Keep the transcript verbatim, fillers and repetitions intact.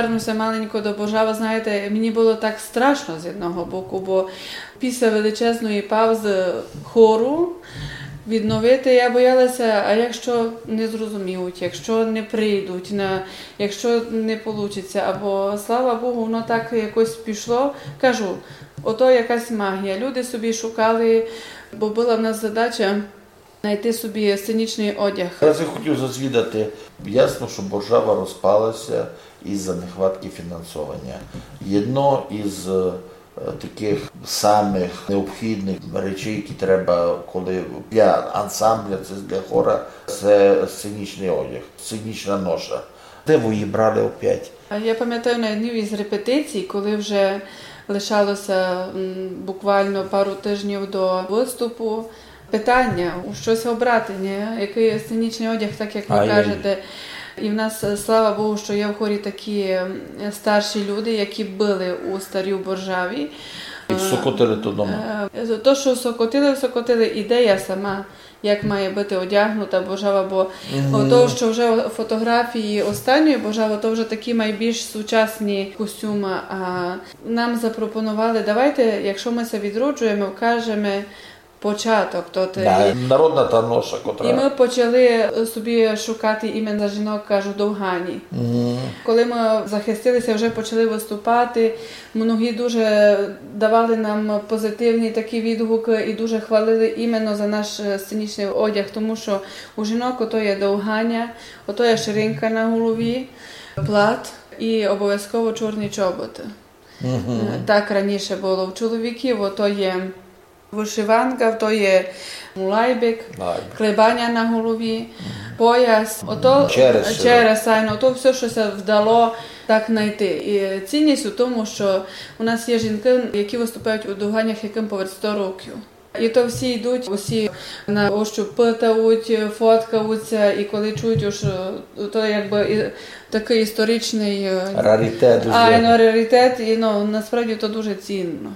Верну ся маленько до Боржава, знаєте, мені было так страшно з одного боку, бо після величезної паузы хору відновити, я бояла ся, а якщо не зрозуміють, якщо не прийдуть, на, якщо не получить ся, або, слава Богу, воно так якось пішло. Кажу, ото якась магія. Люди собі шукали, бо была в нас задача найти собі сценічный одяг. Раз я хотів зазвідати, ясно, што Боржава розпала ся із-за нехватки фінансованя. Єдно із, е, такых самых необхідных речей, які треба, коли для ансамбля, ци для хора, се сценічный одяг, сценічна ноша. Де вы її брали опять? А я памятаю на одній із репетицій, коли вже лишало ся, м, буквално пару тижнів до выступу, питаня, у штось обрати, ні? Якый сценічный одяг, так як вы кажете. І в нас, е, слава Богу, што є в хорі такі, м, старші люди, які были у старій Боржаві. І сокотили то дома. Е, то, што сокотили, сокотили, ідея сама, як має быти одягнута Боржава, бо ото, што вже фотографії останньої Боржавы, то вже такі майбільш сучасні костюмы. А нам запропонували, давайте, якщо мы ся відроджуєме, вкажеме початок, то ти... Да, народна та ноша, котра... І мы почали собі шукати імен за жінок, кажу, довгані. Коли мы захистили ся, вже почали выступати, многі дуже давали нам позитивні такі відгукы і дуже хвалили іменно за наш, е, сценічный одяг, тому што у жінок ото є довганя, ото є ширинка на голові, плат і обовязково чорні чоботы. Е, так раніше было. У чоловіків ото є вышиванка, то є лайбик, клебаня на голові, пояс, ото через, айно, ото всьо, што ся вдало так найти. І цінність у тому, што у нас є жінкы, які выступають у довганях, якым повед сто років. І то всі йдуть, усі на ощуп питають, фоткають ся, і коли чують, уж, е, то якбы і, такый історичный, е, раритет, айно, раритет, і, ну, насправді то дуже цінно.